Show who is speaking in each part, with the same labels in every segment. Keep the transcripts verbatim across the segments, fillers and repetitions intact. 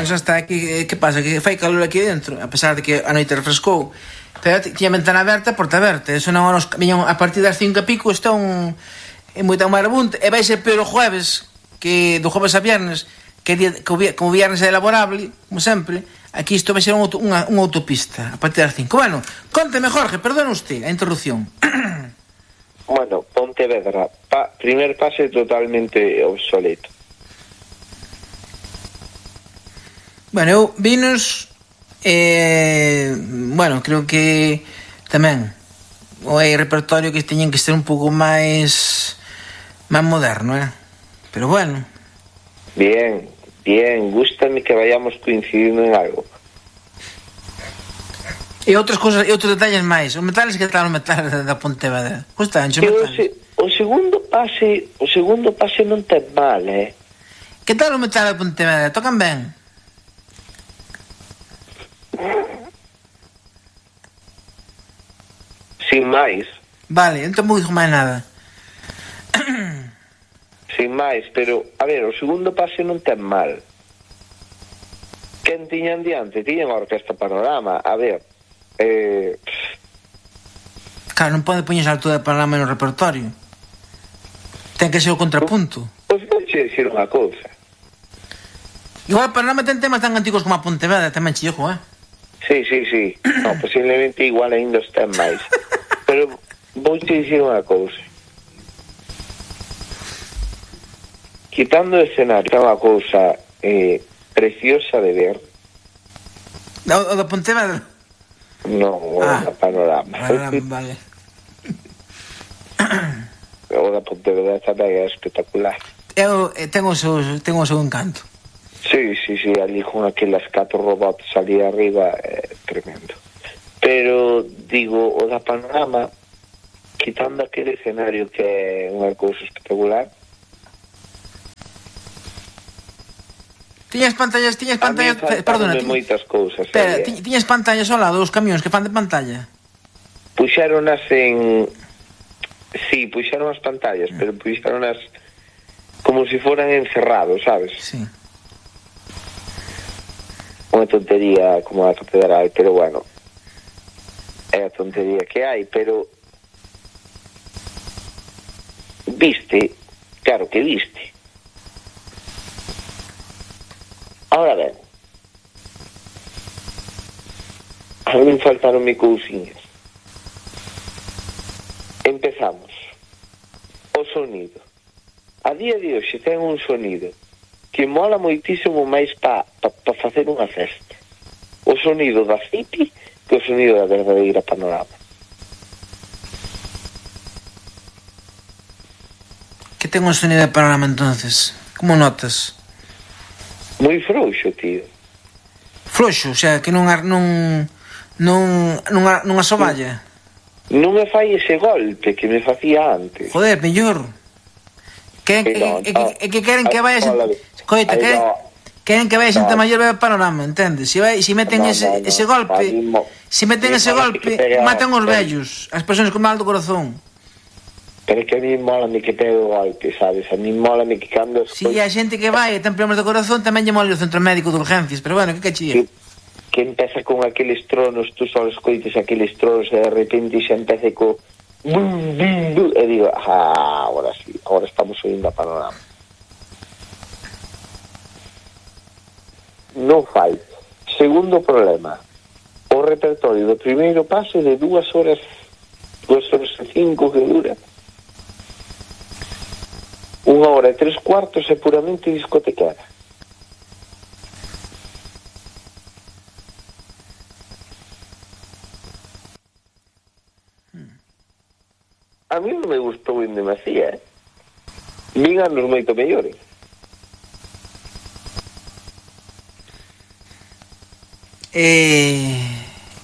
Speaker 1: xa está, que, que pasa? Que fai calor aquí dentro, a pesar de que a noite refrescou. Pero tiña ventana aberta, porta aberta. Eso non nos viñan a partir das cinco e pico, está un é moita marabunta. E vai ser peor o jueves, que do jueves a viernes, que, día, que como viernes é elaborable, como sempre, aquí isto vai ser unha, unha, unha autopista a partir das cinco. Bueno, conteme, Jorge, perdone usted a interrupción.
Speaker 2: Bueno, Pontevedra, pa, primer pase totalmente obsoleto.
Speaker 1: Bueno, eu vinos, eh, bueno, creo que tamén o hai repertorio que teñen que ser un pouco máis máis moderno, eh? Pero bueno.
Speaker 2: Bien, bien, gústame que vayamos coincidindo en algo.
Speaker 1: E outras cousas, e outros detalles máis. Os metales, que tal o metal da Pontevedra? Gustan, os metales?
Speaker 2: Se, o segundo pase, o segundo pase non ten mal, eh?
Speaker 1: Que tal o metal da Pontevedra? Tocan ben?
Speaker 2: Sin máis.
Speaker 1: Vale, entón non digo máis nada.
Speaker 2: Sin máis, pero, a ver, o segundo pase non ten mal. Quen tiñan diante? Tiñan a Orquesta Panorama. A ver, eh...
Speaker 1: claro, non pode poñerse a altura de Panorama no repertorio. Ten que ser o contrapunto.
Speaker 2: Pois vou che dicir unha cousa.
Speaker 1: Igual Panorama ten temas tan antigos como a Pontevedra, tamén chillo, eh?
Speaker 2: Sí, sí, sí. No, posiblemente igual ainda os ten máis. Pero vou te dicir unha cousa. Quitando o escenario, é unha cousa eh, preciosa de ver.
Speaker 1: O, o da Pontevedra?
Speaker 2: Non, o
Speaker 1: ah,
Speaker 2: da Panorama.
Speaker 1: Panorama, vale.
Speaker 2: O da Pontevedra tamén é espectacular.
Speaker 1: Eu eh, tengo o seu, tengo o seu encanto.
Speaker 2: Sí, sí, sí, ali con aquelas catro robots ali arriba é tremendo. Pero, digo, o da Panorama, quitando aquele escenario que é unha cousa espectacular.
Speaker 1: Tiñas pantallas, tiñas pantallas,
Speaker 2: a mí
Speaker 1: perdona, tiñas
Speaker 2: moitas cousas.
Speaker 1: Espera,
Speaker 2: eh.
Speaker 1: tiñas pantallas ao lado dos camións que fan de pantalla.
Speaker 2: Puxéronas en sí, puxeron as pantallas, pero puxéronas como se si foran encerrados, sabes?
Speaker 1: Sí.
Speaker 2: Unha tontería como a catedral, pero bueno, é a tontería que hai, pero viste, claro que viste. Ahora ben, a mí me faltaron mi cousiñas. Empezamos. O sonido. A día de hoxe ten un sonido que mola moitísimo máis pa, pa, pa facer unha festa. O sonido da City que o sonido da verdadeira Panorama.
Speaker 1: Que ten un sonido de Panorama entonces? Como notas?
Speaker 2: Moi frouxo, tío.
Speaker 1: Frouxo, o sea, que non non non non non asoballa.
Speaker 2: Non me fai ese golpe que me facía antes.
Speaker 1: Joder, mellor. Que que que, que, que queren que vaya Coita, queren, queren que vaya xente no. maior ver Panorama, entendes? Se vai, se meten no, ese, no, no. ese golpe, mismo, se meten ese golpe, matan os vellos, as persoas con mal do corazón.
Speaker 2: Pero é que a mí mola mi que pegue o golpe, sabes? A mí mola mi que cambio...
Speaker 1: Si, a xente que vai e ten problemas do corazón tamén lle mola o centro médico de urgencias, pero bueno, que cachilla?
Speaker 2: Que, que empeza con aqueles tronos, tú só escoites aqueles tronos e de repente xa empece co... E digo, ah, ahora sí, ahora estamos oindo a Panorama. Non fai. Segundo problema, o repertorio do primeiro pase de dúas horas, dúas horas e cinco que dura, unha hora e tres cuartos é puramente discotequera. A mí non me gustou en demasía, eh? Vin anos moito mellores.
Speaker 1: E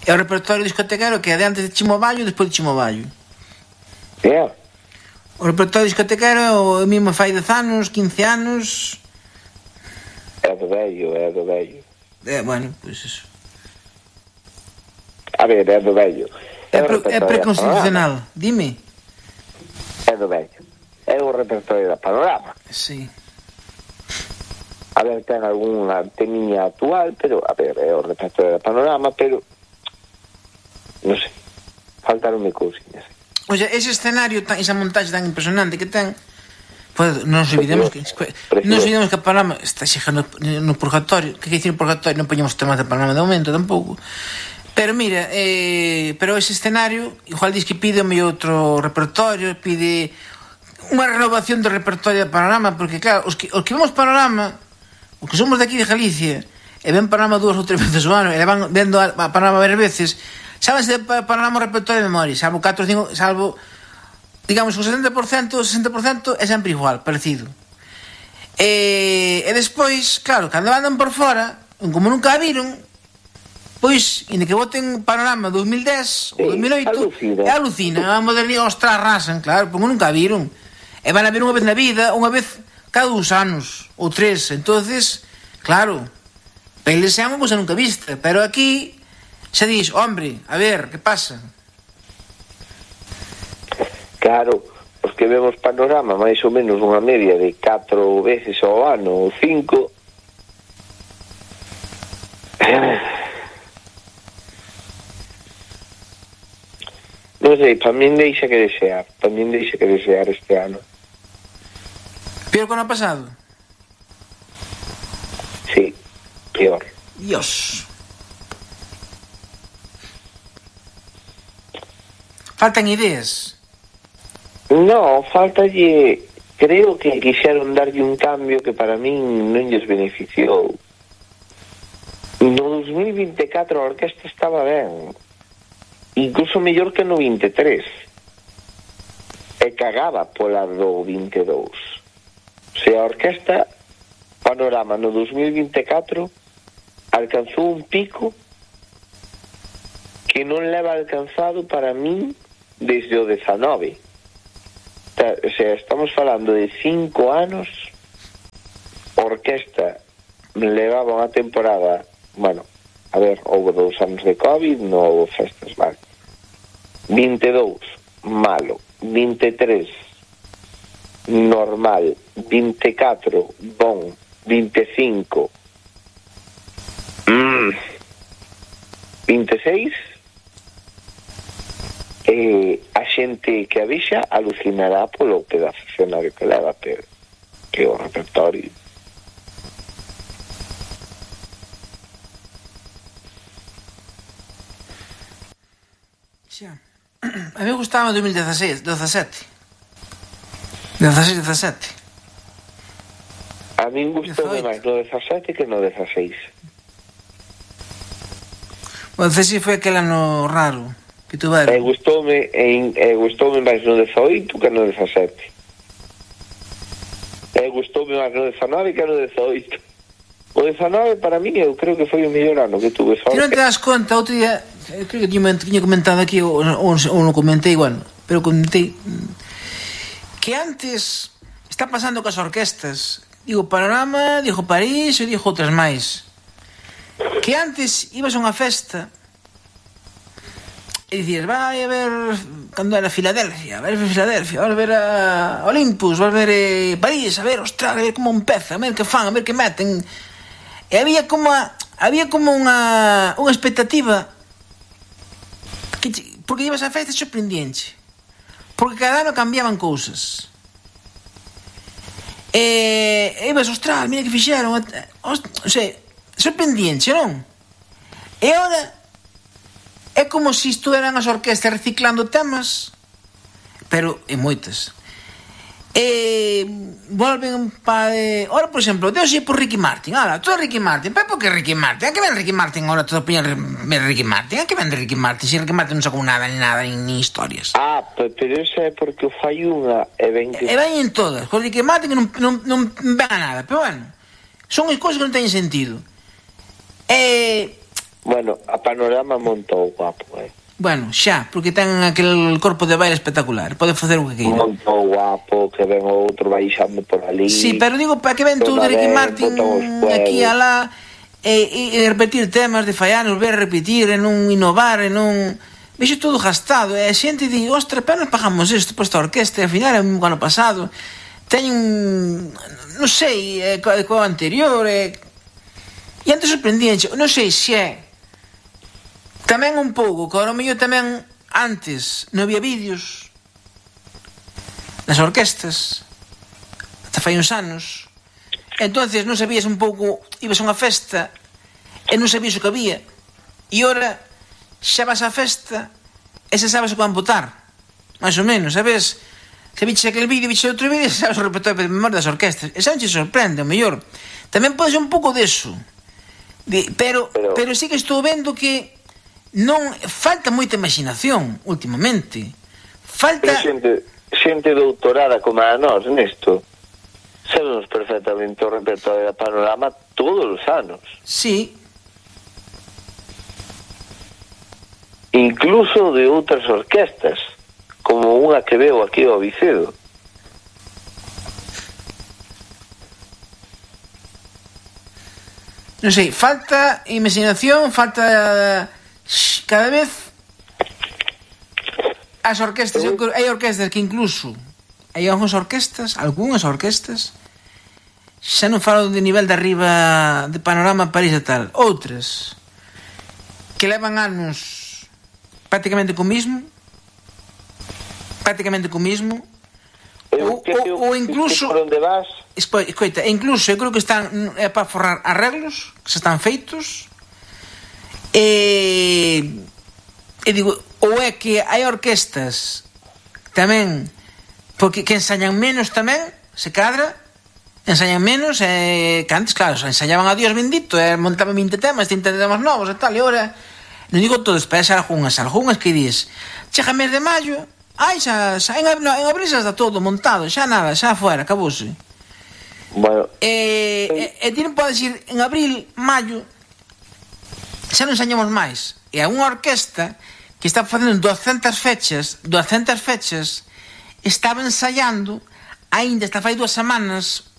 Speaker 1: é o repertorio discotequero que é de antes de Chimoballo e despois de Chimoballo.
Speaker 2: Yeah.
Speaker 1: O repertorio discotequero é o mismo fai dez anos, quince anos.
Speaker 2: É do vello, é do vello.
Speaker 1: É, bueno, pois pues eso.
Speaker 2: A ver, é do vello.
Speaker 1: É, pre, é preconstitucional, dime.
Speaker 2: É do vello. É o repertorio da Panorama.
Speaker 1: Sí.
Speaker 2: A ver, ten algunha temiña actual, pero, a ver, é o repertorio de Panorama, pero non sei, faltaronme cousiñas.
Speaker 1: O sea, ese escenario, tan, esa montaxe tan impresionante que ten, pues, non nos olvidemos que non nos olvidemos que a Panorama está xegando no purgatorio. Que que dicir purgatorio? Non poñemos temas de Panorama de momento tampouco. Pero mira, eh, pero ese escenario igual diz que pide o mellor outro repertorio, pide unha renovación do repertorio de Panorama, porque claro, os que, os que vemos Panorama, os que somos de aquí de Galicia e ven Panorama dúas ou tres veces ao ano e van vendo a, a Panorama varias veces, sábense de Panorama o repertorio de memoria, salvo catro ou cinco, salvo digamos o setenta por cento, o sesenta por cento é sempre igual, parecido. E, e despois, claro, cando andan por fora, como nunca a viron, pois, inda que voten Panorama dos mil dez ou dos mil oito, é alucina, a modernidade, ostras, arrasan, claro, porque nunca a viron. E van a ver unha vez na vida, unha vez cada dous anos, ou tres, entonces, claro, para eles é unha cousa nunca vista, pero aquí se diz, hombre, a ver, que pasa?
Speaker 2: Claro, os que vemos Panorama máis ou menos unha media de catro veces ao ano, ou cinco, non sei, para min deixa que desear, para min deixa que desear este ano.
Speaker 1: Peor que o ano pasado?
Speaker 2: Sí, peor.
Speaker 1: Dios. Faltan ideas.
Speaker 2: No, faltalle, creo que quixeron darlle un cambio que para min non lles beneficiou. No dos mil vinte e catro a orquesta estaba ben, incluso mellor que no vinte e tres, e cagaba pola do vinte e dous. Se a orquesta Panorama no dos mil vinte e catro alcanzou un pico que non leva alcanzado para min desde o dezanove. O sea, estamos falando de cinco anos. A orquesta levaba unha temporada, bueno, a ver, houve dous anos de COVID, non houve festas, vale. vinte e dous, malo. vinte e tres, normal. vinte e catro, bon. vinte e cinco, mm. vinte e seis, eh, a xente que a vixa alucinará polo pedazo escenario que leva, pero que o repertorio.
Speaker 1: Xa. A mí gustaba o dos mil dezasete. dezasete, dezasete.
Speaker 2: A mí gustoume máis no dezasete que no dezaseis.
Speaker 1: O dezasete foi aquel ano raro que tuveron.
Speaker 2: E gustoume, e, e gustoume máis no dezaoito que no dezasete. E gustoume máis no dezanove que no dezaoito. O dezanove para mí eu creo que foi o mellor ano que tuve.
Speaker 1: Ti non te das conta, outro día, creo que tiña comentado aquí, ou, ou, ou non comentei, bueno, pero comentei que antes está pasando cas orquestas, digo Panorama, digo París e digo outras máis, que antes ibas a unha festa e dicías, vai a ver cando era Filadelfia, vai a ver Filadelfia, vai a ver a Olympus, vai a ver eh, París, a ver, ostras, a ver como empeza, a ver que fan, a ver que meten. E había como a, había como unha unha expectativa que, porque ibas a festa sorprendente, porque cada ano cambiaban cousas e, e ibas, ostras, mira que fixeron, o sea, sorprendente, non? E agora é como se estuveran as orquestas reciclando temas, pero en moitas. E volven para... Eh, ora, por exemplo, Deus é por Ricky Martin. Ahora, todo Ricky Martin. Pero por que Ricky Martin? A que ven Ricky Martin ahora todo poñer Ricky Martin? A que ven Ricky Martin? Si Ricky Martin non sacou nada, ni nada, ni, ni historias.
Speaker 2: Ah, pero eso é porque o fai unha e ven que...
Speaker 1: E ven en todas. Con Ricky Martin non, non, non ven a nada. Pero bueno, son as cousas que non teñen sentido. E...
Speaker 2: Bueno, a Panorama montou guapo, eh.
Speaker 1: Bueno, xa, porque ten aquel corpo de baile espectacular, pode facer o que queira.
Speaker 2: Montou guapo, que ven outro baixando por ali.
Speaker 1: Sí, pero digo, para que ven tú de Ricky Martin aquí e alá e, e repetir temas de fallar, volver a repetir e non innovar e non... Vexo todo gastado e a xente di, ostra, pero nos pagamos isto por esta orquesta e ao final é un ano pasado. teñen, non sei, eh, co, co anterior, eh, e antes sorprendíanche, non sei se é tamén un pouco, que ao mellor tamén antes non había vídeos nas orquestas, ata fai uns anos, entonces non sabías un pouco, ibas a unha festa e non sabías o que había, e ora xa vas á festa e xa sabes o que van botar, máis ou menos, sabes? Se viches aquel vídeo, viches outro vídeo, sabes o repertorio de memoria das orquestas, e xa non te sorprende, o mellor tamén pode ser un pouco deso, de, pero, pero pero sí que estou vendo que non falta moita imaginación últimamente, falta
Speaker 2: xente, xente doutorada como a nós nesto, sabemos perfectamente o repertorio da Panorama todos os anos.
Speaker 1: Sí.
Speaker 2: Incluso de outras orquestas, como unha que veo aquí ao Vicedo.
Speaker 1: Non sei, falta imaginación, falta cada vez as orquestas, eu, hai orquestas que incluso hai algunhas orquestas, algunhas orquestas xa non falo de nivel de arriba de Panorama, París e tal, outras que levan anos prácticamente co mismo prácticamente co mismo ou, ou, ou incluso
Speaker 2: por onde vas?
Speaker 1: Escoita, incluso eu creo que están é para forrar arreglos que se están feitos e e digo, ou é que hai orquestas tamén porque que ensañan menos tamén, se cadra ensañan menos e que antes, claro, ensañaban a Dios bendito e montaban vinte temas, trinta temas novos e tal, e ora non digo todos, pero xa algunhas, algunhas que dis chega mes de maio, ai, xa, xa en, no, en abril xa está todo montado, xa nada, xa fuera, acabouse.
Speaker 2: Bueno,
Speaker 1: e, e, e ti non podes ir en abril, maio, xa non ensañamos máis, e a unha orquesta que está facendo douscentas fechas, douscentas fechas, estaba ensaiando, aínda está fai dúas semanas,